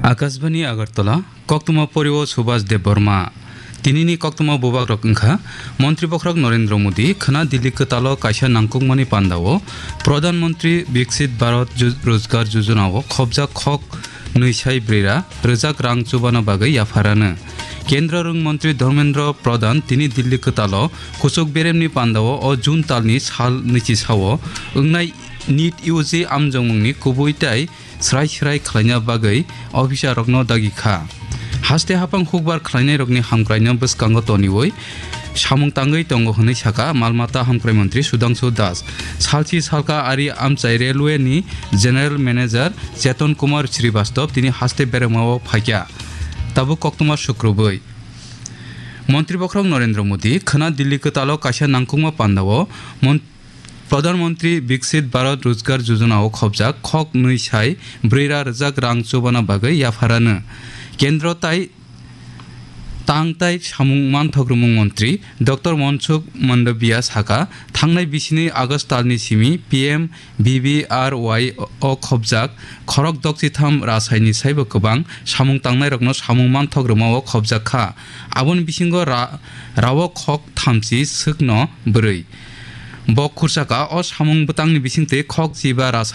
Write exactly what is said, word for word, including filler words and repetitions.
Akashbani Agartala, koktwma porio Subhas Debbarma. Tinini koktwma bubagrok wngkha, Montri Bokhorok Narendra Modi khwna Delhi kwtalo kaisa nangkukmani pandao Pradhan Mantri Viksit Bharat Ju-, Rozgar Jojona o khopjak khok nwi sai brwi ra rwjak rang chubana bagwi yapharano. Kendra rwng Montri Dharmendra Pradhan tini Delhi kwtalo kuchuk beremni pandao o June talni sal nwichi sao wngnai NEET U G amjongmungni kubui tai srai srai khlaina bagwi officer rokno dagi kha. Haste haphang hukbar khlainairokni hamkraino bwskango toniwi samung tangwi tongo hwnwi saka mal mata hamkrai montri Sudhangshu Das. Salchi salka ari amchai railway ni general manager Cheton Kumar Srivastava tini haste beremao phaikha. Tabuk koktwma sukrubwi. Montri Bokhorok Narendra Modi khwna Delhi kwtalo kaisa nangkukma pandao Mon-, Pradhan Mantri Viksit Bharat Rozgar Jojona o khopjak khok nwi sai brwi ra rwjak rang chubana bagwi yapharano. Kendro tai tang tai samung manthok rwmung montri Doctor Mansukh Mandaviya saka, thangnai bisini August talni simi P M V V R Y o khopjak khorok dokchitham rasaini saibo kwbang samung tangnairokno samung manthok rwmao khopjak kha. Aboni bisingo ra-, rawok khok thamchi swkno bwrwi. Bo khursaka o samung bwtangni bisingtwi khok chiba rasa